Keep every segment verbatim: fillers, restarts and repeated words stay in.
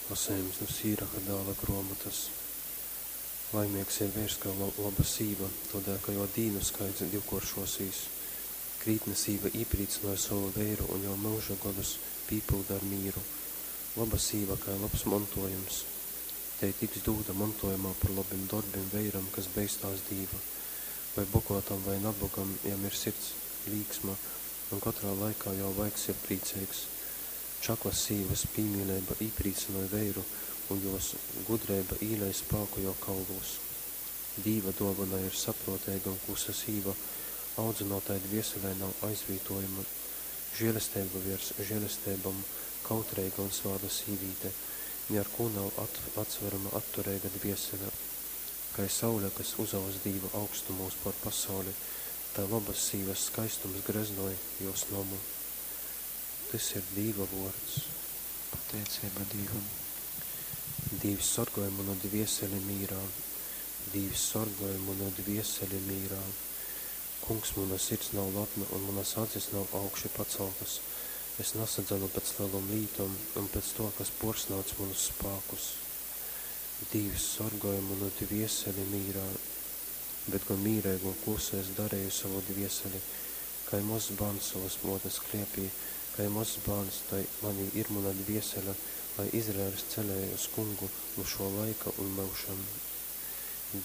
Lasejums nu Sīraha dāla gruomotas. Laimeigs ir veirs, kam loba sīva, tōdēļ ka jō dīnu skaits divkōršōsīs. Krītna sīva īprīcynoj sovu veiru un jō myuža godus pīpylda ar mīru. Loba sīva kai lobs montuojums. Tei tiks dūta montuojumā par lobim dorbim veiram, kas beistās Dīva. Voi boguotam, voi nabogam, jam ir sirds līksma, un kotrā laikā jō vaigs ir prīceigs. Čaklas sīvas pīmīleiba īprīcynoj veiru, un jōs gudreiba īlej spāku jō kaulūs. Dīva duovona ir sapruoteiga un klusa sīva, audzynuotai dvieselei nav aizvītuojuma. Žielesteiba viers žielesteibom, kautreiga un svāta sīvīte, ni ar kū nav atsverama attureiga dviesele. Kai saule, kas uzaust Dīva augstumūs puor pasauli, tai lobys sīvys skaistums greznoj juos nomu. Tys ir Dīva vuords. Pateiceiba Dīvam. Dīvs sorgoj munu dvieseli mīrā. Dīvs sorgoj munu dvieseli mīrā. Kungs, muna sirds nav lapna un munas acis nav augši pacaltas. Es nasadzanu pēc lelom lītom un pēc tuo, kas puorsnādz munus spākus. Dīvs sorgoj munu dvieseli mīrā. Bet gon mīreigu un klusu es dareju sovu dvieseli, kai mozs bārns sovas muotes kliepī, kai mozs bārns, tai manī ir muna dviesele, lai Izraeļs celej uz Kungu nu šuo laika un myužam.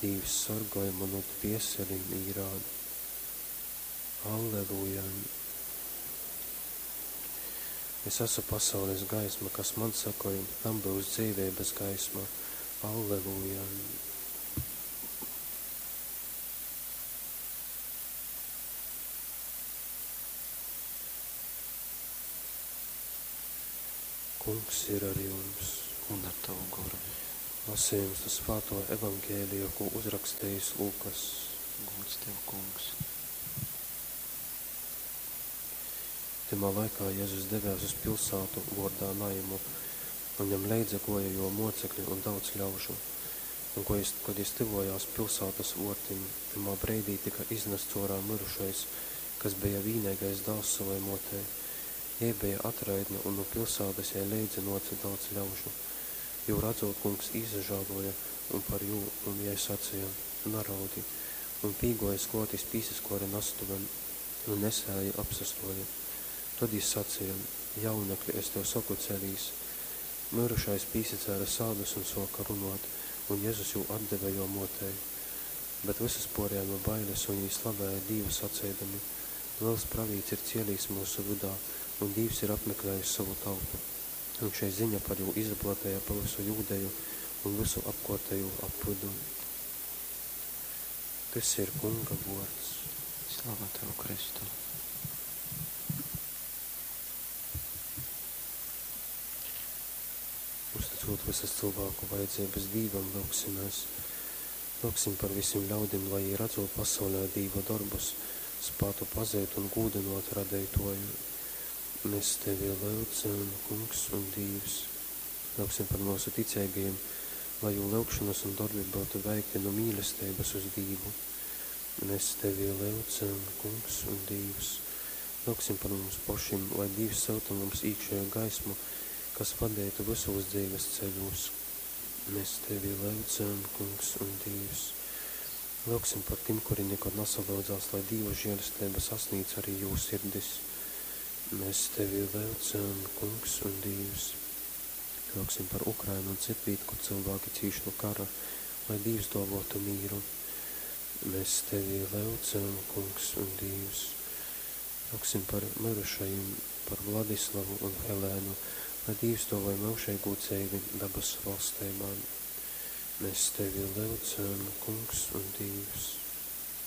Dīvs sorgoj munu dvieseli mīrā. Alleluja! Es asu pasaules gaisma, kas man sekoj, tam byus dzeiveibas gaisma. Alleluja! Kungs ir ar jums. Un ar tavu goru. Lasījums nu Svāto Evangelija, ko uzrakstījis Lūkas. Gūds tev, Kungs. Tymā laikā Jezus devēs uz pilsātu vuordā Naimu, un jam leidza guoja juo muocekļi un daudz ļaužu. Un, ko jis, kod jis tyvuojās pilsātas vuortim, tymā breidī tyka iznasts uorā myrušais, kas beja vīneigais dāls sovai muotei. Jei beja atraitne, un nu pilsātas jai leidza nuoce daudz ļaužu. Jū radzūt, Kungs īsažāluoja un par jū un jai saceja: Naraudi! Un pīguojis kluot, jis pīsaskuore nastuvem, un nesēji apsastuoja. Tod jis saceja: Jaunekli, es tev soku, celīs! Myrušais pīsacēle sādus un suoka runuot, un Jezus jū atdeve juo muotei. Bet vysus puorjēme bailes, un jī slavēja Dīvu saceidami: Lels pravīts ir cielīs myusu vydā, un Dīvs ir apmeklējis sovu tautu. Un šei ziņa par jū izaplateja pa vysu Jūdeju un vysu apkuortejū apvydu. Tys ir Kunga vuords. Slava tev, Kristu! Uzticūt vysas cylvāku vajadzeibys Dīvam, lyugsimēs. Lyugsim par vysim ļaudim, lai jī, radzūt pasaulē Dīva dorbus, spātu pazeit un gūdynuot Radeituoju. Mēs tevi lyudzam, Kungs un Dīvs. Lyugsim par myusu ticeigajim, lai jū lyugšonys un dorbi byutu veikti nu mīlesteibys uz Dīvu. Mēs tevi lyudzam, Kungs un Dīvs. Lyugsim par mums pošim, lai Dīvs syuta mums īkšeju gaismu, kas vadeitu vysūs dzeives ceļūs. Mēs tevi lyudzam, Kungs un Dīvs. Lyugsim par tim, kuri nikod nasalyudzās, lai Dīva žielesteiba sasnīdz arī jū sirdis. Mēs tevi lyudzam, Kungs un Dīvs. Lyugsim par Ukrainu un citvīt, kur cilvēki cīš nu kara, lai Dīvs duovuotu mīru. Mēs tevi lyudzam, Kungs un Dīvs. Lyugsim par myrušajim, par Vladislavu un Helēnu, lai Dīvs duovoj myužeigū dzeivi dabasu valsteibā. Mēs tevi lyudzam, Kungs un Dīvs.